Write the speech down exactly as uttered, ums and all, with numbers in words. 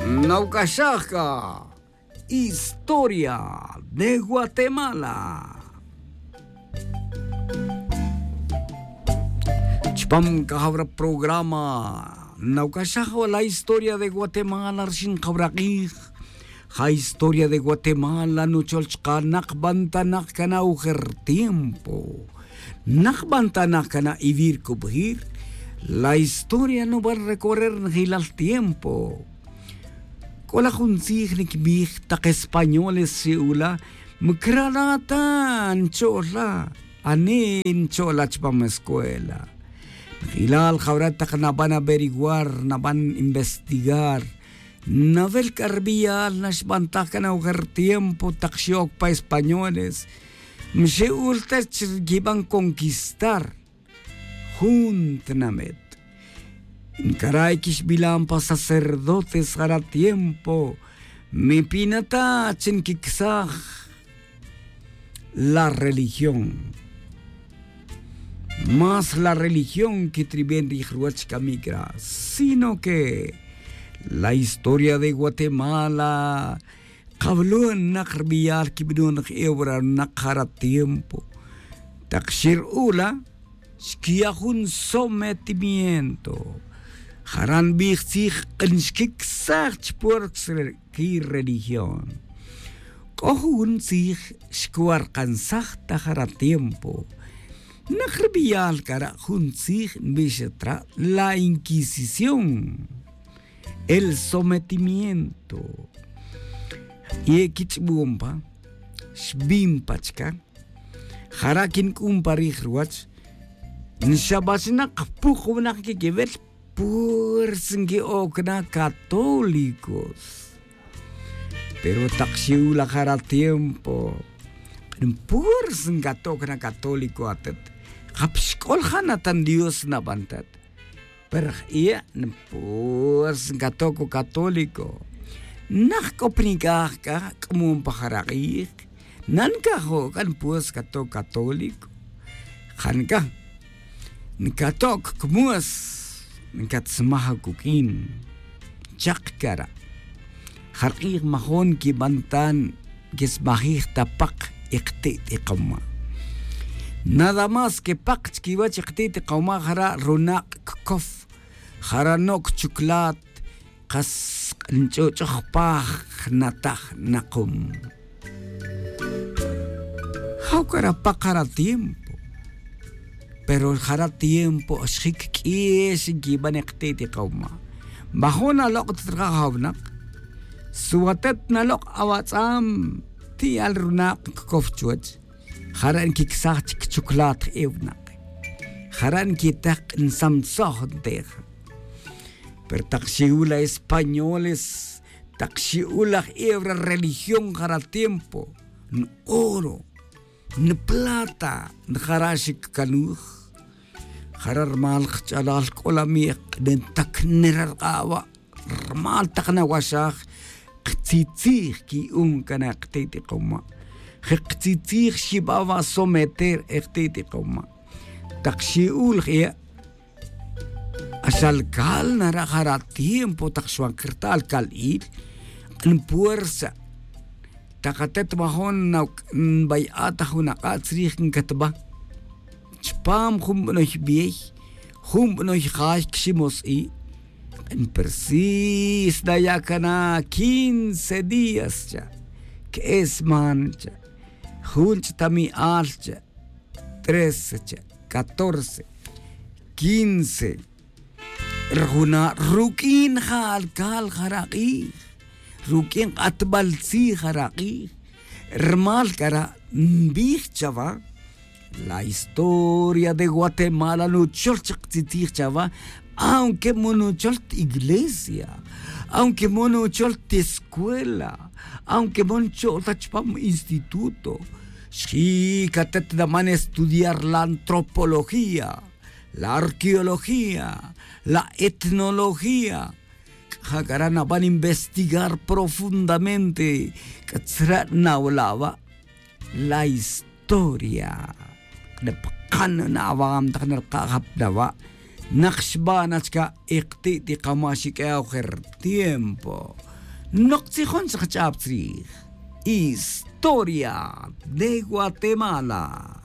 Nauc'axaj ca historia de guatemala. Chupam cajawra programa nauc'axaj la historia de guatemala rxin jawra k'ij. Ja historia de guatemala nuchol chka nak'bantanak cana ujer tiempo. Nak'bantanak cana ivir cubjir. La historia nuban recorrer njilal tiempo. C'o la jun tzij niquibij tak españoles xe'ula, micrala ta ncho'la. Ani ncho'la chupam escuela. Njilal jawra tak naban averiguar, naban investigar. Nawel c'a rbiyal naxbantaj can awajer tiempo tak xe'oc pa españoles. Mxe'ul ta chi quiban conquistar jun tinamet. Ncaray quixbilan pa sacerdotes jara tiempo. Mipina ta chi nquicsaj la religión. Más la religión que triben rij ruwach camic ra sino que la historia de guatemala. Kawlon nak rbiyal quibnon jewra nak jara tiempo. Tak xir'ula xquiya' jun sometimiento. Jara nbij tzij nxquicsaj chpuerc ri religión. C'o jun tzij xcuarkansaj ta jara tiempo. Nak rbiyal cara' jun tzij nbix tra la inquisición, el sometimiento. Y equich'bon pa xbin pa chca. Jara' quinc'un pa rij ruwach. Nxabach na kpuk winak quiquiwel. Puersa nqui'oc na católicos. Pero tak xi'ul la jara tiempo, puersa ncato'oc na católico atet. Japxc'ol ja' na tan dios naban tet. Pero j'iya' npuersa ncato'oc católico. Nak c'o pa nic'aj c'a c'amon pa jara k'ij. Nancajo' c'a npuersa cato'oc católico. Ja nic'a ncato'oc cmues. Ncatsmaj acuq'uin. Chak cara'. Jark'ij majon quiban ta nquismajij ta pak. Ikti't ikoma'. Nada más que pak chiquiwech ikti't ikoma' jara' runak' ccof. Jara' noc chuclat. Kas nch'uch'oj paj nataj nakum. Jaw cara' pak jara tiempo. Pero jara tiempo xjic q'uix nquiban ikti't ikoma'. Majon alok' ta traja jawnak. Suwatet nalok' awatz'am. Ti'al runak' ccof chuwech. Jara' nquicsaj chic chuclat je'e winak. Jara' nquitek nsamtzoj nteja. Pero tak xi'ul la españoles, tak xi'ul laj ebra religión jara tiempo, n-oro, n-plata, n-jara' xic canuj. Jara' rmal kch'alal c'o la mi'ek ntak nera rk'a'wa'. Rmal tak nawaxaj. Ktzitzij qui'un cana' kti't ikoma'. Je ktzitzij xiba wa someter e kti't ikoma'. Tak xi'ul je'. Axal cal nara' jara' tiempo tak xwan crta' alcal il. Npuersa. Tak atet majon nbay'a ta jun ak'a' tzrij ncatba. Chpam jun banoy biey jun banoy jay cximos'i. Npersis naya' cana' quince días cha'. Que'e sman cha'. Jun ch'tami'al cha'. Trece cha'. Catorce, quince. Rjuna' ruq'uin ja alcal jara' k'ij. Ruq'uin k'atbal tzij jara' k'ij. Rmal cara' nbij chawa. La historia de guatemala nuchol chak tzitzij chawa. Aunque mo nuchol ta iglesia, aunque mo nuchol ta escuela, aunque mo nchol ta chupam instituto. Xji' catet naman estudiar la antropología, la arqueología, la etnología. C'a ja cara' naban investigar profundamente. C'a tzra' nawala' wa' la historia. Npkan na awam tak nrka' jap na wa'. Nak xba na chca' ikti't ikama' xiq'ue' awajer tiempo. Nok tzijon chakach'ab tzij historia de guatemala.